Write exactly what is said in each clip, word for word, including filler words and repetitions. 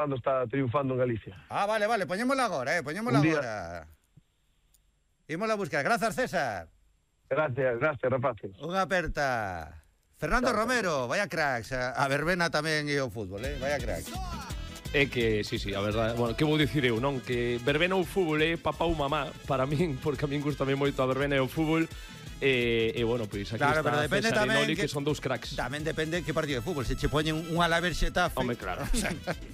cando está triunfando en Galicia. Ah, vale, vale, poñémola agora, eh, poñémola Un día- agora. Ímola a buscar. Grazas, César. Gracias, gracias, rapaces. Unha aperta. Fernando Chao, Romero, vaya cracks. A a verbena tamén e o fútbol, eh? Vaya cracks. É que, sí, sí, a verdade, bueno, que vou dicir eu, non? Que verbena ou fútbol é papá ou mamá para min, porque a min gustame moito a verbena e o fútbol. E, e bueno, pois aquí Claro, está pero depende César e tamén Noli, que- que son dous cracks. Tamén depende que partido de fútbol. Se che poñen un Alavés Xetafe. Home, claro.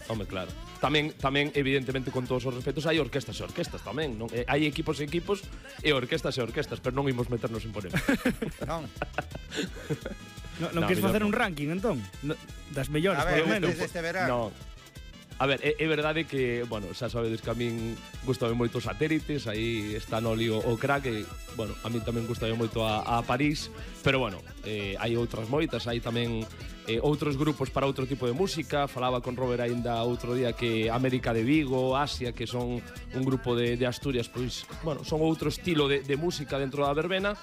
Home, claro. Tamén, tamén, evidentemente, con todos os respetos, hai orquestas e orquestas tamén, non? Eh, hai equipos e equipos e orquestas e orquestas, pero non imos meternos en polémica. Non. No, non No, queres mellor facer non. un ranking, entón? No, das mellores, A ver, polo menos. desde este verano. No. A ver, é, é verdade que, bueno, xa sabedes que a min gustame moito os satélites, aí está Noli o, o crack, e, bueno, a min tamén gustame moito a, a París, pero, bueno, eh, hai outras moitas, hai tamén eh, outros grupos para outro tipo de música. Falaba con Robert aínda outro día que América de Vigo, Asia, que son un grupo de, de Asturias, pois, bueno, son outro estilo de, de música dentro da verbena.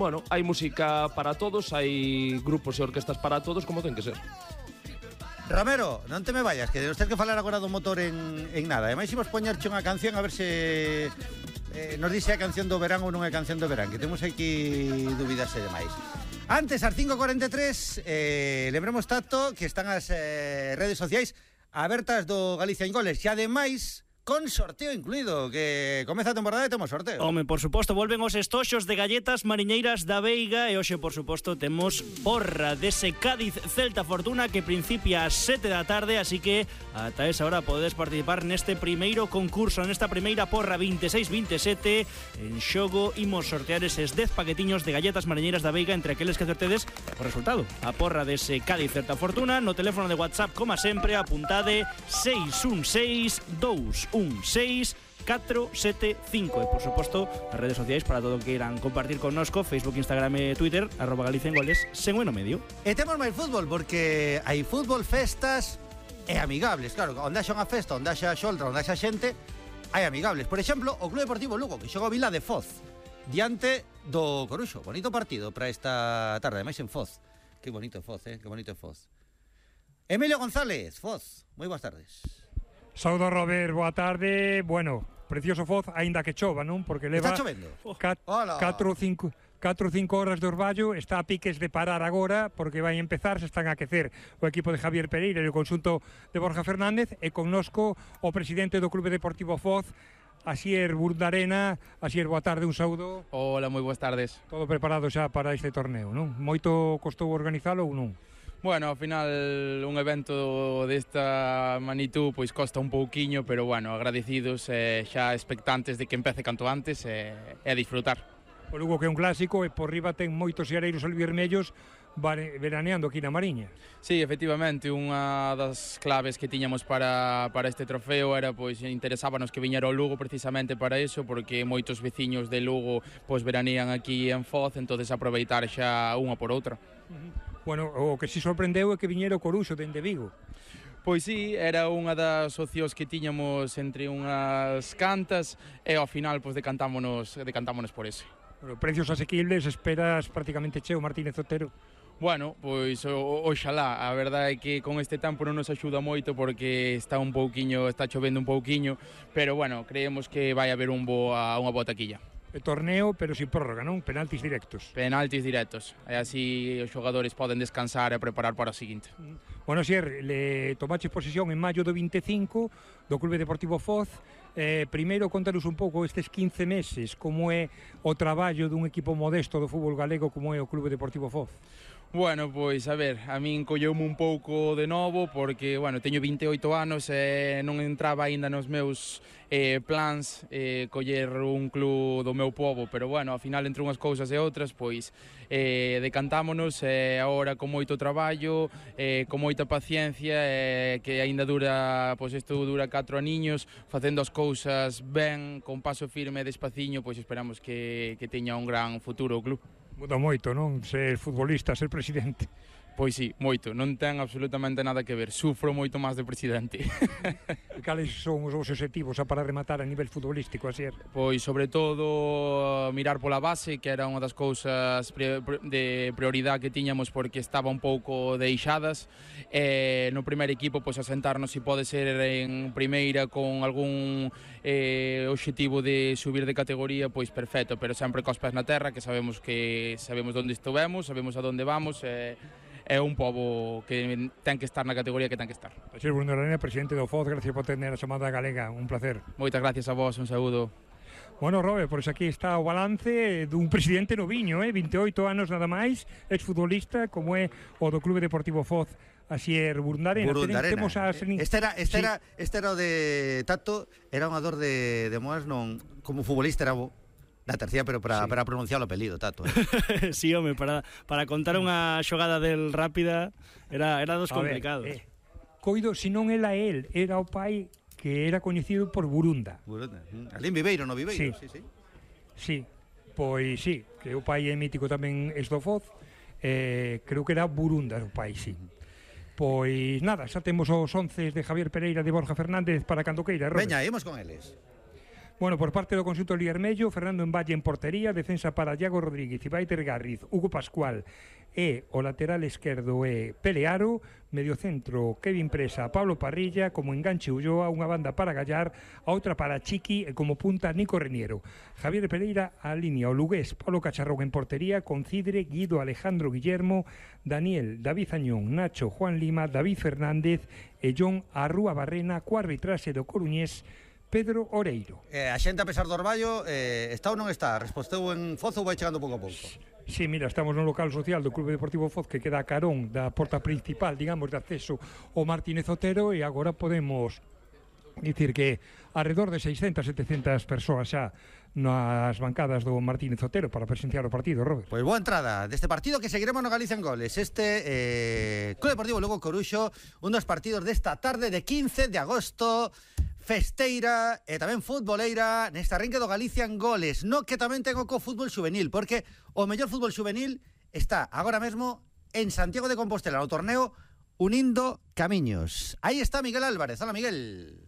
Bueno, hai música para todos, hai grupos e orquestas para todos, como ten que ser. Romero, non te me vayas, que nos tens que falar agora do motor en, en nada. E máis imos poñerche unha canción a ver se eh, nos dixe a canción do verán ou non é canción do verán, que temos aquí dúbidas e demais. Antes, ás cinco e cuarenta e tres, eh, lembremos tanto que están as eh, redes sociais abertas do Galicia en Goles e ademais con sorteo incluído, que comeza a temporada e temos sorteo. Home, por suposto, volven os estoxos de galletas mariñeiras da Veiga e hoxe, por suposto, temos porra dese Cádiz Celta Fortuna que principia ás sete da tarde, así que ata esa hora podedes participar neste primeiro concurso, nesta primeira porra veintiséis veintisiete. En xogo imos sortear eses dez paquetiños de galletas mariñeiras da Veiga entre aqueles que acertedes o resultado. A porra dese Cádiz Celta Fortuna no teléfono de WhatsApp, como sempre, apuntade seis un seis dous un seis catro sete cinco e, por suposto, as redes sociais para todo o que queiran compartir connosco, Facebook, Instagram e Twitter, arroba Galicia en Goles, sen o no medio. E temos máis fútbol, porque hai fútbol, festas e amigables. Claro, onde haxa unha festa, onde haxa xoltra, onde haxa xente, hai amigables. Por exemplo, o Club Deportivo Lugo, que xoga o Vila de Foz, diante do Coruxo. Bonito partido para esta tarde, máis en Foz. Que bonito Foz, eh? Que bonito Foz. Emilio González, Foz, moi boas tardes. Saudo Robert, boa tarde. Bueno, precioso Foz, aínda que chova, non? Porque leva Está chovendo? cat, Hola. catro ou cinco catro ou cinco horas de orballo, está a piques de parar agora porque vai empezar, se están a aquecer o equipo de Javier Pereira e o conxunto de Borja Fernández, e connosco o presidente do Clube Deportivo Foz, Asier Burdarena. Asier, boa tarde, un saúdo. Hola, moi boas tardes. Todo preparado xa para este torneo, non? Moito costou organizalo ou non? Bueno, ao final un evento desta magnitud pois costa un pouquiño, pero bueno, agradecidos e xa expectantes de que empece canto antes e, e a disfrutar. O Lugo, que é un clásico, e por riba ten moitos seareiros albivermellos veraneando aquí na Mariña. Sí, efectivamente, unha das claves que tiñamos para, para este trofeo era, pois, interesábanos que viñera o Lugo precisamente para iso, porque moitos veciños de Lugo pois veranean aquí en Foz, entonces aproveitar xa unha por outra. Uh-huh. Bueno, o que si sorprendeu é que viñera o Coruxo dende Vigo. Pois sí, era unha das opcións que tiñamos entre unhas cantas e ao final pois decantámonos, decantámonos por ese. Bueno, precios asequibles, esperas prácticamente cheo Martínez Otero. Bueno, pois o, oxalá, a verdade é que con este tempo non nos axuda moito porque está un pouquiño, está chovendo un pouquiño, pero bueno, creemos que vai haber un boa, unha boa taquilla. E torneo, pero sin prórroga, non? Penaltis directos. Penaltis directos, e así os xogadores poden descansar e preparar para o seguinte. Bueno, Sier, le tomaches posesión en maio do vinte e cinco do Clube Deportivo Foz. Eh, primeiro, contanos un pouco estes quince meses, como é o traballo dun equipo modesto do fútbol galego como é o Clube Deportivo Foz. Bueno, pois, a ver, a min colleume un pouco de novo porque, bueno, teño vinte e oito anos e non entraba aínda nos meus eh, plans eh, coller un club do meu povo, pero, bueno, ao final, entre unhas cousas e outras, pois, eh, decantámonos e eh, agora con moito traballo, eh, con moita paciencia, eh, que aínda dura, pois, isto dura catro aniños, facendo as cousas ben, con paso firme e despaciño, pois esperamos que, que teña un gran futuro o club. Muda moito, non? Ser futbolista, ser presidente. Pois sí, moito, non ten absolutamente nada que ver, sufro moito máis de presidente. Cales son os vos objetivos para rematar a nivel futbolístico, Asier? Pois sobre todo mirar pola base, que era unha das cousas de prioridade que tiñamos porque estaba un pouco deixadas, e no primeiro equipo pois asentarnos se pode ser en primeira con algún eh, objetivo de subir de categoría, pois perfecto, pero sempre cos pés na terra, que sabemos que sabemos onde estivemos, sabemos a onde vamos, e eh, é un pobo que ten que estar na categoría que ten que estar. Asier Bruno Arena, presidente do F O Z, gracias por tener a chamada galega, un placer. Moitas gracias a vos, un saúdo. Bueno, Robert, pois aquí está o balance dun presidente noviño, eh? vinte e oito anos nada máis, exfutbolista, como é o do Clube Deportivo F O Z, Asier Burundarena. Burundarena. Temos a... Este era, este, sí. era, este era o de Tato, era un ador de, de Moas, non, como futbolista era bo. La tercera, pero para, sí. para pronunciar o apelido, Tato. Eh. Sí, home, para, para contar unha xogada del rápida era, era dos complicados. Ver, eh, coido, se non era el, era o pai que era coñecido por Burunda. Burunda. Alín Viveiro, no Viveiro. Sí, sí, sí. Sí, pois sí, que o pai é mítico tamén es do F O Z, eh, creo que era Burunda o pai, sí. Pois nada, xa temos os once de Javier Pereira de Borja Fernández para cando queira, Robert. Veña, imos con eles. Bueno, por parte do conxunto Liermello, Fernando Envalle en portería, defensa para Iago Rodríguez, Ibaiter Garriz, Hugo Pascual e o lateral esquerdo é Pelearo, medio centro Kevin Presa, Pablo Parrilla, como enganche Ulloa, unha banda para Gallar, a outra para Chiqui e como punta Nico Reniero. Javier Pereira a línea o lugués, Pablo Cacharrón en portería, con Cidre, Guido, Alejandro Guillermo, Daniel, David Añón, Nacho, Juan Lima, David Fernández e John Arrúa Barrena, co arbitraxe do coruñés Pedro Oreiro. Eh, a xente, a pesar do orballo, eh, está ou non está? Resposteu en Fozo ou vai chegando pouco a pouco? Sí, mira, estamos no local social do Clube Deportivo Foz, que queda a carón da porta principal, digamos, de acceso ao Martínez Otero, e agora podemos dicir que alrededor de seiscentas, setecentas persoas xa nas bancadas do Martínez Otero para presenciar o partido, Robert. Pois boa entrada deste partido que seguiremos no Galicia en Goles. Este eh, Club Deportivo Lugo Coruxo, un dos partidos desta tarde de quince de agosto, festeira e tamén futboleira nesta arranque do Galicia en Goles, no que tamén ten o co fútbol juvenil, porque o mellor fútbol juvenil está agora mesmo en Santiago de Compostela, no torneo Unindo Camiños. Aí está Miguel Álvarez. Hola, Miguel.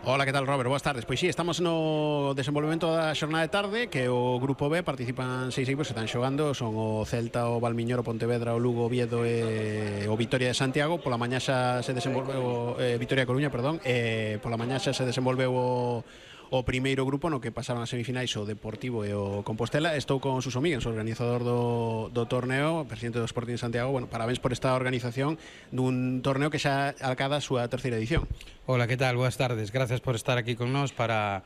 Hola, que tal, Robert? Boas tardes. Pois sí, estamos no desenvolvemento da xornada de tarde, que o Grupo B participan seis equipos que están xogando, son o Celta, o Valmiñor, o Pontevedra, o Lugo, o Oviedo e o Vitoria de Santiago. Pola mañá xa se desenvolveu eh, Vitoria Coruña, perdón, e pola mañá xa se desenvolveu o o primeiro grupo no que pasaron as semifinais o Deportivo e o Compostela. Estou con Suso Míguez, o organizador do, do torneo, presidente do Sporting de Santiago. Bueno, parabéns por esta organización dun torneo que xa alcada a súa terceira edición. Hola, que tal? Boas tardes. Gracias por estar aquí con nós para,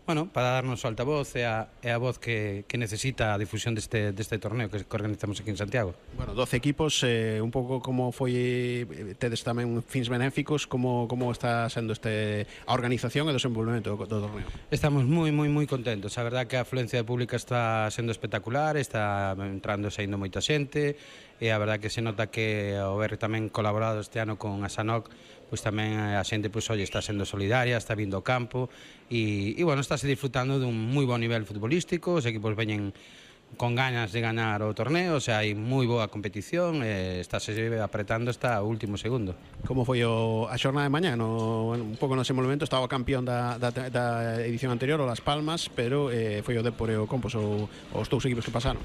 bueno, para darnos o altavoz e a, e a voz que, que necesita a difusión deste, deste torneo que, que organizamos aquí en Santiago. Bueno, doce equipos, eh, un pouco como foi, tedes tamén fins benéficos, como, como está sendo este a organización e o desenvolvemento do, do torneo? Estamos moi, moi, moi contentos. A verdad que a afluencia pública está sendo espectacular, está entrando e saindo moita xente, e a verdad que se nota que ao ver tamén colaborado este ano con a Sanoc, pois tamén a xente, pois, oye, está sendo solidaria, está vindo ao campo e, e bueno, estáse disfrutando dun moi bo nivel futbolístico, os equipos veñen con ganas de ganar o torneo, o sea, hai moi boa competición, e estáse apretando hasta o último segundo. Como foi o, a xornada de mañá? No, un pouco no desenvolvemento estaba o campeón da, da, da edición anterior, o Las Palmas, pero eh, foi o Depor e o Compos o, os dous equipos que pasaron.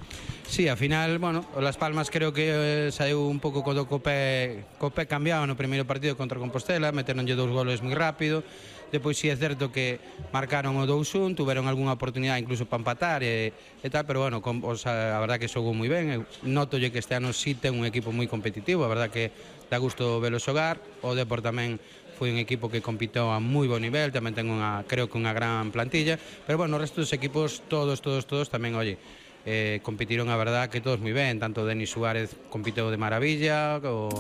Sí, ao final, bueno, o Las Palmas creo que eh, saiu un pouco co copé, copé cambiado no primeiro partido contra Compostela, meteronlle dous goles moi rápido. Depois sí é certo que marcaron o dous un, tuveron algunha oportunidade incluso para empatar e, e tal, pero bueno, com, o sea, a verdad que xogou moi ben. Notolle que este ano sí ten un equipo moi competitivo, a verdad que dá gusto velo xogar. O Depor tamén foi un equipo que compitou a moi bo nivel, tamén ten unha, creo que unha gran plantilla, pero bueno, o resto dos equipos, todos, todos, todos tamén, oye, eh, competiron a verdad que todos moi ben, tanto Denis Suárez compitou de maravilla, o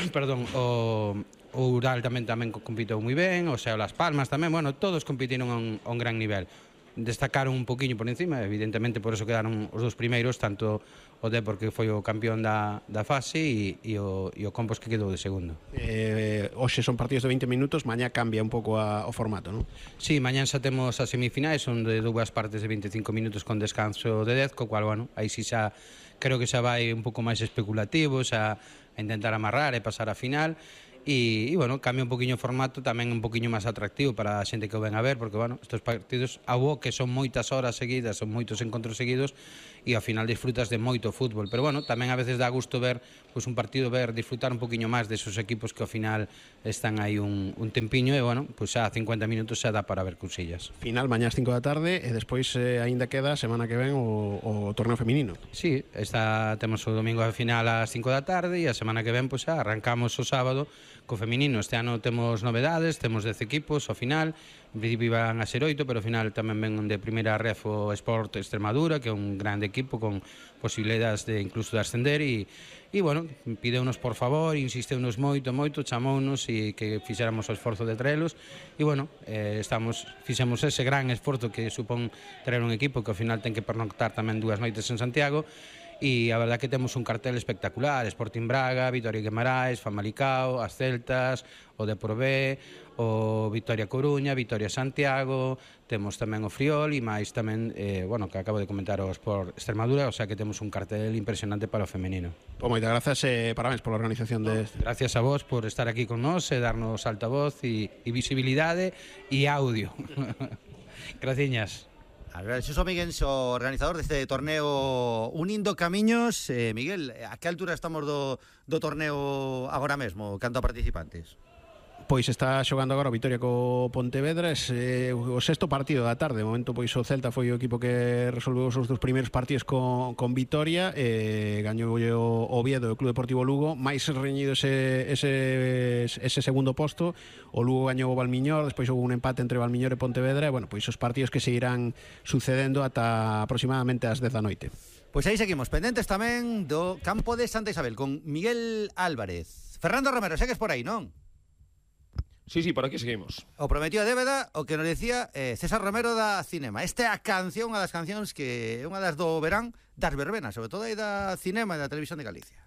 perdón, o o Ural tamén tamén compitou moi ben, o sea, Las Palmas tamén, bueno, todos compitiron a un, a un gran nivel. destacaron un poquinho por encima, evidentemente por eso quedaron os dous primeiros, tanto o Depor que foi o campeón da, da fase e, e, o, e o Compos que quedou de segundo. Eh, hoxe son partidos de veinte minutos, mañá cambia un pouco a, o formato, non? Sí, mañá xa temos as semifinais, son de dúas partes de veinticinco minutos con descanso de dez, co cual, bueno, aí si xa creo que xa vai un pouco máis especulativo, xa a intentar amarrar e pasar a final. E, e bueno, cambia un poquinho o formato, tamén un poquinho máis atractivo para a xente que o ven a ver, porque bueno, estes partidos a bo que son moitas horas seguidas, son moitos encontros seguidos e ao final disfrutas de moito fútbol, pero bueno, tamén a veces dá gusto ver pois, un partido, ver, disfrutar un poquinho máis desos equipos que ao final están aí un, un tempiño e bueno, pois xa cincuenta minutos xa dá para ver cousillas. Final mañá ás cinco da tarde e despois eh, aínda queda a semana que ven o, o torneo feminino. Sí, esta, temos o domingo a final ás cinco da tarde e a semana que ven pois xa arrancamos o sábado co feminino. Este ano temos novedades, temos dez equipos ao final, en principio iban a ser oito, pero ao final tamén ven de primeira ref o Sport Extremadura, que é un grande equipo con posibilidades de incluso de ascender e, e bueno, pideunos por favor, insisteunos moito, moito, chamounos e que fixéramos o esforzo de traelos e bueno, eh, estamos, fixemos ese gran esforzo que supón traer un equipo que ao final ten que pernoctar tamén dúas noites en Santiago. E a verdad que temos un cartel espectacular, Sporting Braga, Vitoria Guimarães, Famalicao, as Celtas, o Depor B, o Vitoria Coruña, Vitoria Santiago, temos tamén o Friol e máis tamén, eh, bueno, que acabo de comentar o Sport Extremadura, o sea que temos un cartel impresionante para o femenino. Pues moitas grazas e eh, parabéns pola organización de... Gracias a vos por estar aquí con nós e darnos altavoz e, e visibilidade e audio. Graciñas. Xosé Miguel, o organizador deste torneo Unindo Camiños. eh, Miguel, a que altura estamos do, do torneo agora mesmo, canto a participantes? Pois está xogando agora o Vitoria co Pontevedra, é eh, o sexto partido da tarde. De momento pois o Celta foi o equipo que resolveu os seus primeiros partidos con, con Vitoria, e eh, gañou o Oviedo e o Club Deportivo Lugo, máis reñido ese, ese, ese segundo posto. O Lugo gañou o Valmiñor, despois houve un empate entre Valmiñor e Pontevedra, e bueno, pois os partidos que se irán sucedendo ata aproximadamente as dez da noite. Pois aí seguimos, pendentes tamén do campo de Santa Isabel con Miguel Álvarez. Fernando Romero, segues por aí, non? Sí, sí, por aquí seguimos. O prometido a débeda, o que nos decía eh, César Romero da Cinema. Esta é a canción, unha das cancións que é unha das do verán das verbenas, sobre todo aí da Cinema e da Televisión de Galicia.